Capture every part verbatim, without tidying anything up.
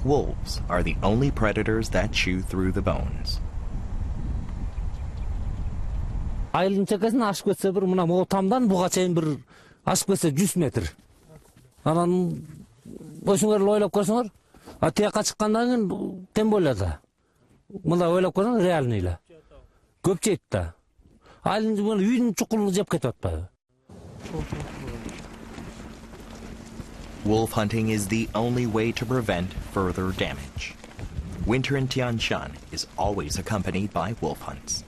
Wolves are the only predators that chew through the bones. Айылдын чекесин ашып кетсе бир мына могу тамдан буга чейин бир ашып кетсе жүз метр. Анан ошоңор эле ойлоп көрсөңөр, а тияка чыккандан кийин тем более да. Мында ойлоп көрсөң реальный эле. Көп жейт да. Айылдын үйдүн чукулун жеп кетип атпайбы? Wolf hunting is the only way to prevent further damage. Winter in Tian Shan is always accompanied by wolf hunts.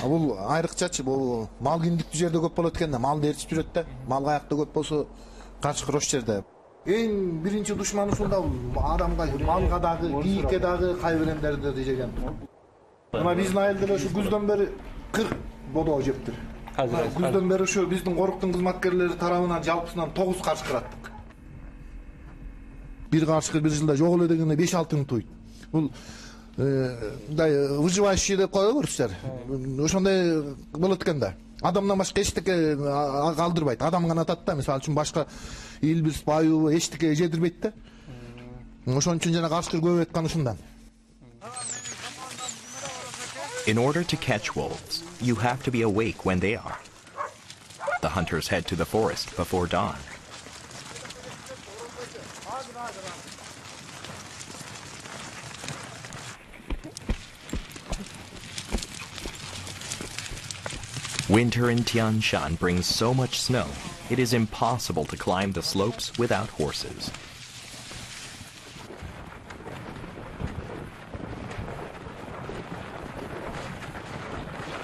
Бул айрыкчачы бул мал киндиктүү жерде көп болот экен да, малды ээрчип жүрөт да. Мал каякта көп болсо каршы крош жерде. Эң биринчи душман ушунда адамга, малга дагы, кийикке дагы, кайбиремдерде дежеген. Мына биздин айылда эле ушу күздөн бери кырк бодоо жептир. Күздөн бери ушу биздин коруктун кызматкерлери тарабынан жалпысынан тогуз каршы кыраттык. Бир каршы бир жылда жок эле дегенде беш алты миң туйт. Бул мындай выживающий деп кое көрсүздөр. Ошондой болот экен да. Адамдан башка эчтеке калтырбайт. Адам гана атат да, мисалы үчүн башка илбирс, баю эчтеке жедирбейт да. Ошон үчүн жана каршкыр көп айткан ушундан. In order to catch wolves, you have to be awake when they are. The hunters head to the forest before dawn. Winter in Tian Shan brings so much snow, it is impossible to climb the slopes without horses.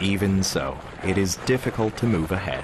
Even so, it is difficult to move ahead.